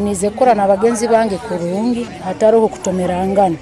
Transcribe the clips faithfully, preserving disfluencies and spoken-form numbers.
Nize kukora n'abagenzi bange kurungi hataroho kutomerangana.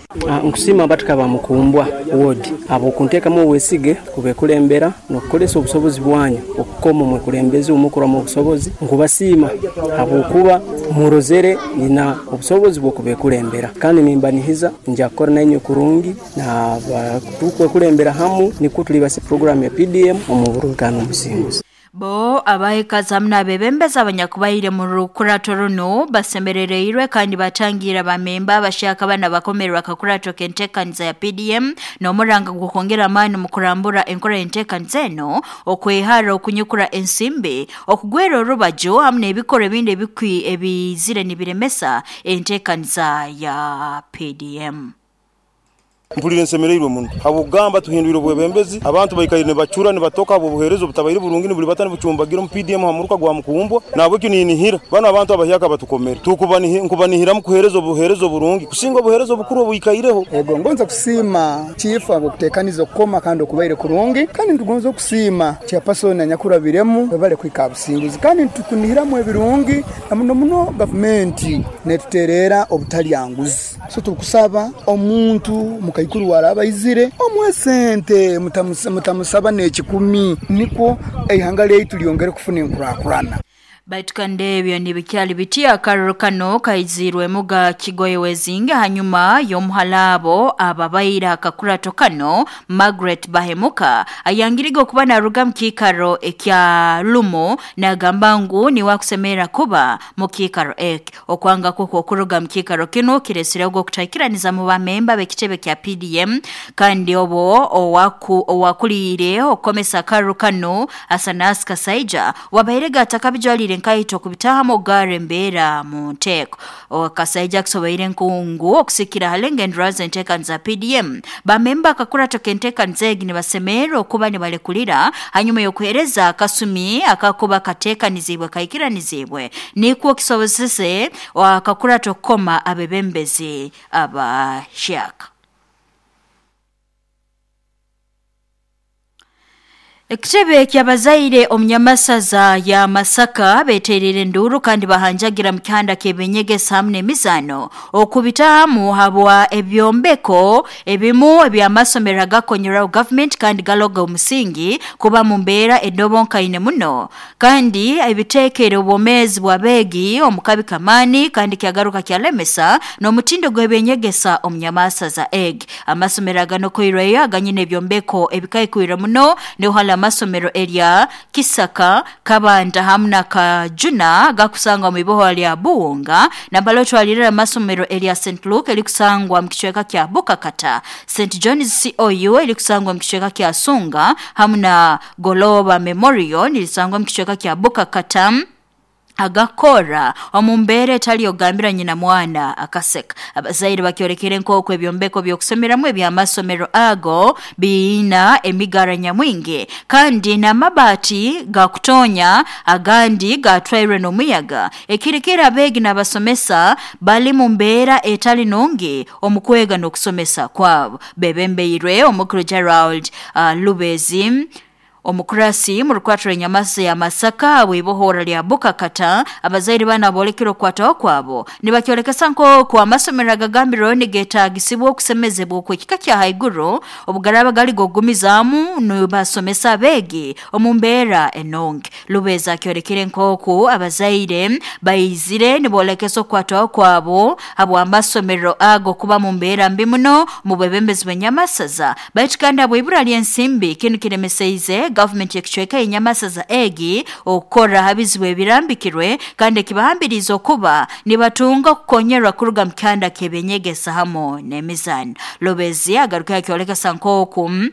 Nkusiima abataka ba Mukumbwa ward habw'okunteekamu obwesige kubekulembera n'okukozesa obusobozi bwanyu okukoma omwekulembezi omukurwamu obusobozi. Nkubasiima habwokuba murozere nyina obusobozi bw'okubekulembera, kandi nimbanihiza nja kukora nainywe kurungi nabatukwekulembera hamu nikwo tulibasa puroguramu ya P D M omu burungi n'obusinguzi. Bo abaikazi hamu n'abebembezi abanyakubaire mu rukurato runo basemerereirwe kandi batangira bamemba abashaka bana bakomerwa akakurato k'enteekaniza ya P D M n'omuranga gw'okwongera amaani mu kurambura enkora y'enteekaniza eno, okwehara okunyukura ensimbi, okugwera orubaju hamu n'ebikorwa ebindi ebikwi ebizire nibiremesa enteekaniza ya P D M. Mpulire nsemereirwe muno habw'okugamba tuhindwire obwebembezi, abantu baikaire nibacura nibatoka habw'obuheereza obutabaire burungi nibuli bata nibucumbagira omu P D M ha muruka gwa Mukumbwa. Nahabwekyo ninihira bano abantu abahyaka batukomere tukubanihiramu kuheereza obuheereza oburungi kusinga obuheereza obukuru obwikaireho. Ego ngonza kusiima chifu habw'okuteekaniza okukoma kandi okubaire kurungi, kandi nitugonza okusiima chairperson anyakurabiremu bale kwika businguzi, kandi nitukunihiramu ebirungi na muno muno gavumenti netuteerera obutalyanguzi. So tukusaba omuntu mukaikuru warabaizire omwe sente mutamusaba n'ekikumi nikwo eihanga lyaitu lyongere kufuna enkurakurana. Baitu kandi ebyo nibikyali bitya akaruru kano kaizirwemu ga Kigoye Wezinge hanyuma y'omuhalabo ababaire akakurato kano Margaret Bahemuka ayangiriga okuba naruga mu kiikaro ekya Lumo nagamba ngu niwe akusemera kuba mu kiikaro eki. Okwanga kwe okuruga mu kiikaro kino kiresireho okutaikiraniza mu bamemba b'ekitebe kya P D M, kandi obo owaku owakuliire okukomesa akaruru kano Asanas Kasaija wabairega atakabijwalire nkaito kubitahamu ogare embeera mu nteeko. Kasaija akusoboire nkungu okusikira halenga enduraza enteekaniza P D M. Bamemba akakurato k'enteekaniza egi nibasemerera okuba nibalekulira hanyuma y'okuheereza akasumi akakuba kateekanizibwe kaikiranizibwe nikwo kisobozese akakurato kukoma abebembezi abahyaka. Ekitebe ky'abazaire omunyamasaza ya Masaka beterere enduru kandi bahanjagira mu kihanda ky'ebinyegesa hamwe n'emizaano okubitahamu habwa ebyombeko ebimu eby'amasomero agakonyeraho government kandi galoga omusingi kuba mu mbeera edobonkaine muno, kandi ebiteekere obwomeezi bw'abeegi omu kabi kamaani kandi kyagaruka kyalemesa n'omutindo gw'ebinyegesa omunyamasaza egi. Amasomero aganokoirweyo aganyine ebyombeko ebikaikwire muno niho amasomero erya Kisaka, Kabanda hamu na Kajuna gakusangwa mu iboho lya Buwunga, nambalo twalirira amasomero erya Saint Luke erikusangwa mu kicweka kya Bukakata, Saint John's C O U erikusangwa mu kicweka kya Sunga hamu na Goloba Memorial nilisangwa mu kicweka kya Bukakata agakora omumbere etali ogambira nyina mwana akaseka. Abazaire bakyolekere nk'oku ebyombeko by'okusomeramu eby'amasomero ago biina emigara nyamwingi kandi n'amabaati gakutonya agandi gatwairwe n'omuyaga, ekirikira abeegi n'abasomesa bali mu mbeera etali nungi omu kwega n'okusomesa kwabo. Bebembeirwe omukuru Gerald uh, Lubezi omukurasi mu rukwatiro enyamasa ya Masaka bw'ibohora lya Bukakata. Abazaire bana bolekera okwataho kwabo nibakyolekesa nk'oku amasomero agagambirweho nigeetaagisibwa okusemezebwa okw'ekika kya haiguru obugaraba gali gogumizaamu nibasomesa abeegi omu mbeera enonge. Lubeza akyolekere nk'oku abazaire baizire nibolekesa okwataho kwabo habw'amasomero ago kuba mu mbeera mbi muno mu bwebembezi bw'enyamasaza, baitu kandi habw'ibura ly'ensimbi kinu kiremeseize government ekicweka enyamasaza egi okukora habizibu ebirambikirwe kandi ekibahambiriza okuba nibatunga kukonyerwa kuruga mu kihanda ky'ebinyegesa hamu n'emizaano. Lobezi agaruka akyolekesa nk'oku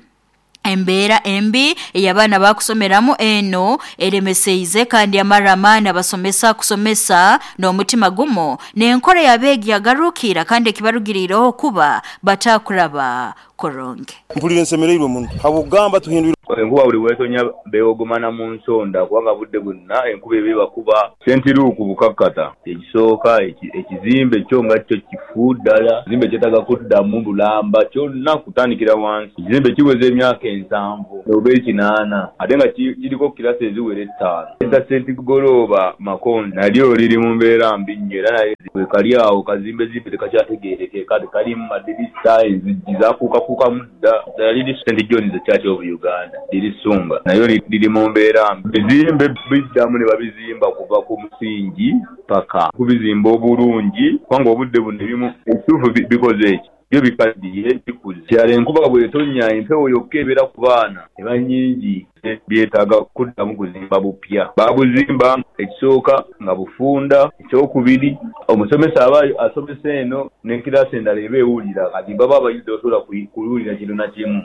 embeera embi ey'abaana bakusomeramu eno eremeseize kandi amara amaani abasomesa kusomesa n'omutima gumu n'enkora y'abeegi yagarukira kandi ekibarugiriireho kuba batakuraba kurungi. Mpulire nsemereirwe muno habw'okugamba tuhindwire enkuba buli bwetonya beewogomana mu nsonda kubanga budde bwonna enkuba eba ebakuba. Sentiruuku bukakkata ekisooka ekizimbe kyo nga kyo kifu ddala, ekizimbe kyetaaga kuddamu bulamba kyonna kutandikira wansi. Ekizimbe kiweza emyaka ensanvu oba ekinaana ate nga kiriko kirasi eziwera ettaano. Eza Sentigolooba Makonzi nalyo liri mu mbeera mbi nnyo era naye bwe kali awo kazimbezimbe tekakyategeerekeka, tekalimu madirisa, enzigi zaakuukakuukamu dda. Ddala liri Saint John's Church of Uganda liri Ssunga nayo liri mu mbeera mbi. Bizimbe biddamu ne babizimba kuva ku musingi paka kubizimba obulungi kubanga obudde buno ebimu ekituufu bikoze eki byo bikaddiye bikuze. Kyalo enkuba bw'etonnya empewo yokka ebeera ku baana eba nnyingi, byetaaga kuddamu kuzimba bupya. Baabuzimba ekisooka nga bufunda, ekyokubiri omusomesa aba asomesa eno ne kiraasi endala eba ewulira, kati baba abayizi tebasobola kuwulira kintu na kimu.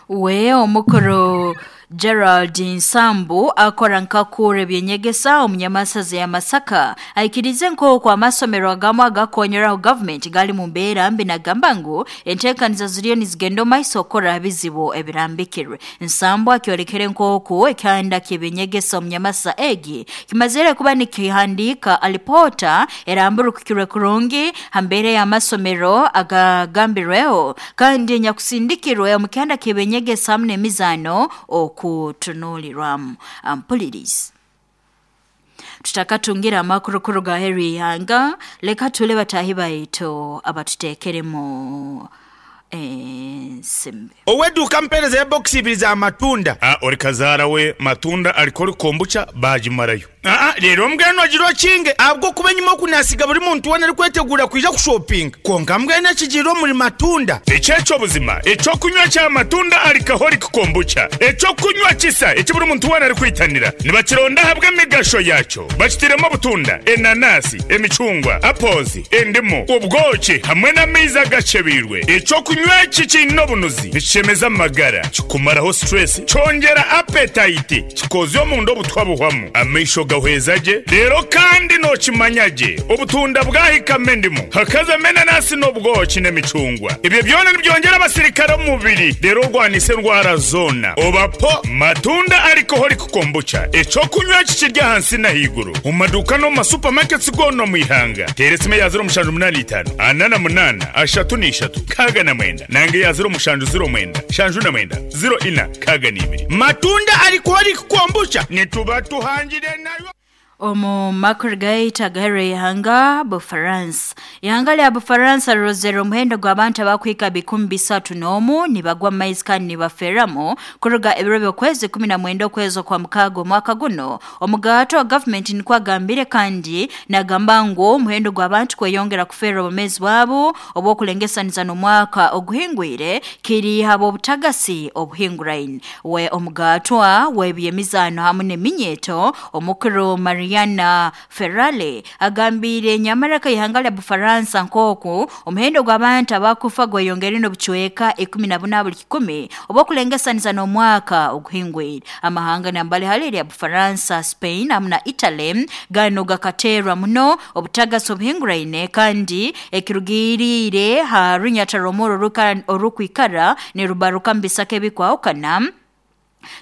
We omukuru Gerald Nsambu akora nkakura ebyenyegesa omunyamasaza ya Masaka aikirize nk'oku amasomero agamu agakonyeraho government gali mu mbeera mbi nagamba ngu enteekaniza ziriyo nizigenda omu maiso okukora ebizibu ebirambikirwe. Nsambu akyolekere nk'oku ekyanda ky'ebyenyegesa omunyamasa egi kimazire kuba nikihandiika alipota eramburukukirwe kurungi ha mbeera y'amasomero agagambirweho kandi nyakusindikirwe omu kyanda ky'ebyenyegesa hamu n'emizaano okutunulirwamu. Ampulirizi tutakatungira amakuru kuruga heri ihanga, leka tule batahi baitu abatuteekeremu ensimbi. Oweduka mpereza ya box ibiri za matunda. Ah, ori kazara we matunda alikori kombucha bajimarayo. Ah, rero mbwenu agirwa kinge abwo kuba nyuma kunasiga buri muntu wana ari kwetegura kwija kushopping. Konka mbwenu akigiro muri matunda. Echecho buzima, echo kunywa cha matunda alikahori kombucha. Echo kunywa kisa, echo buri muntu wana ari kwitanira. Nibakironda habwe migasho yacho. Bakitiremo butunda, enanasi, emicungwa, apples, endimu, ubwoki hamwe n'amaizi agacebirwe. Echo kunywa kikino bunuzi, nikishemeza amagara, kikumaraho stress, cyongera appetite, kikozyo mu ndo butwabuhwamu. Amaisho gahwezaje rero kandi nokimanyage obutunda bwahikame ndimu hakaza menanasi n'obwoki n'emicungwa. Ibyo byona nibyongera abasirikare mu mubiri rero urwanise ndwara zona. Obapo matunda alcoholic kombucha eco kunywa kikirya hansi na higuru mu maduka no mu supermarkets gono mu ihanga. Teresime ya zero mushanju munani itanu anana munana ashatu n'ishatu kaga na mwenda nange ya zero mushanju zero mwenda shanju na mwenda zero ina kaga n'ibiri. Matunda alcoholic kombucha nituba tuhangire nayo. Omu makuru gaitu agahere ihanga Bufaransa. Ihanga lya Bufaransa rirozere omuhendo gw'abantu abakwika bikumi bisatu n'omu nibagwa mu maizi kandi nibaferamu kuruga ebiro by'okwezi kumi na mwenda okwezi kwa mukaaga omwaka guno. Omugato wa gavumenti nikwo agambire kandi nagamba ngu omuhendo gw'abantu kweyongera kufera obumezi bwabo obw'okulengesaniza n'omwaka oguhingwire kiri habw'obutagasi obuhinguraine. We omugatwa w'ebyemizaano hamwe n'eminyeto omukuru Maria Mariana Ferrale agambire nyamaraka ihanga lya Bufaransa nkoku omuhendo gw'abantu abakufa gweyongera n'obucweka ikumi na buna buli kikumi obw'okulengesaniza n'omwaka oguhingwire. Amahanga nambali hali lya Bufaransa, Spain hamwe na Italy gano gakaterwa muno obutagasi obuhinguraine kandi ekirugirire ha runyata romoro orukwikara nirubaruka mbisaka ebikwahukana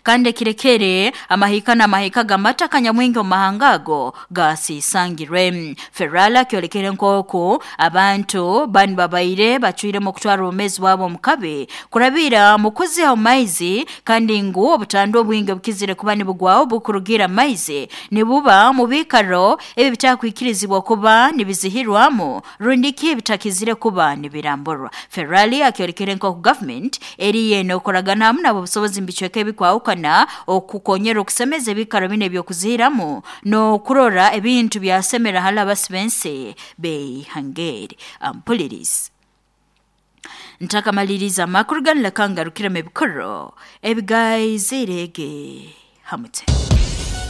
kandi kirekere amahika n'amahika g'amata kanyamwingi omu mahanga ago gasisangirwe. Ferrala kyolekere nk'oku abantu bani babaire bacwiremu okutwara obumezi bwabo omu kabi kurabira mu kuziha omu maizi kandi ngu obutandwa obwingi obukizire kuba nibugwaho bukurugira maizi nibuba mu biikaro ebi bitakwikirizibwa kuba nibizihirwamu rundi ki bitakizire kuba nibiramburwa. Ferrali akyolekere nk'oku government eriye n'okoragana hamu nabo obusobozi mbicweka ebikwa kwahukana okukonyera okusemeza ebikaro bine ebyokuzihiramu n'okurora ebintu byasemera hali abasibensi beihangeri. Ampulirizi ntakamaliriza amakuru ganu leka ngarukiremu ebikoro ebigayizirege hamute.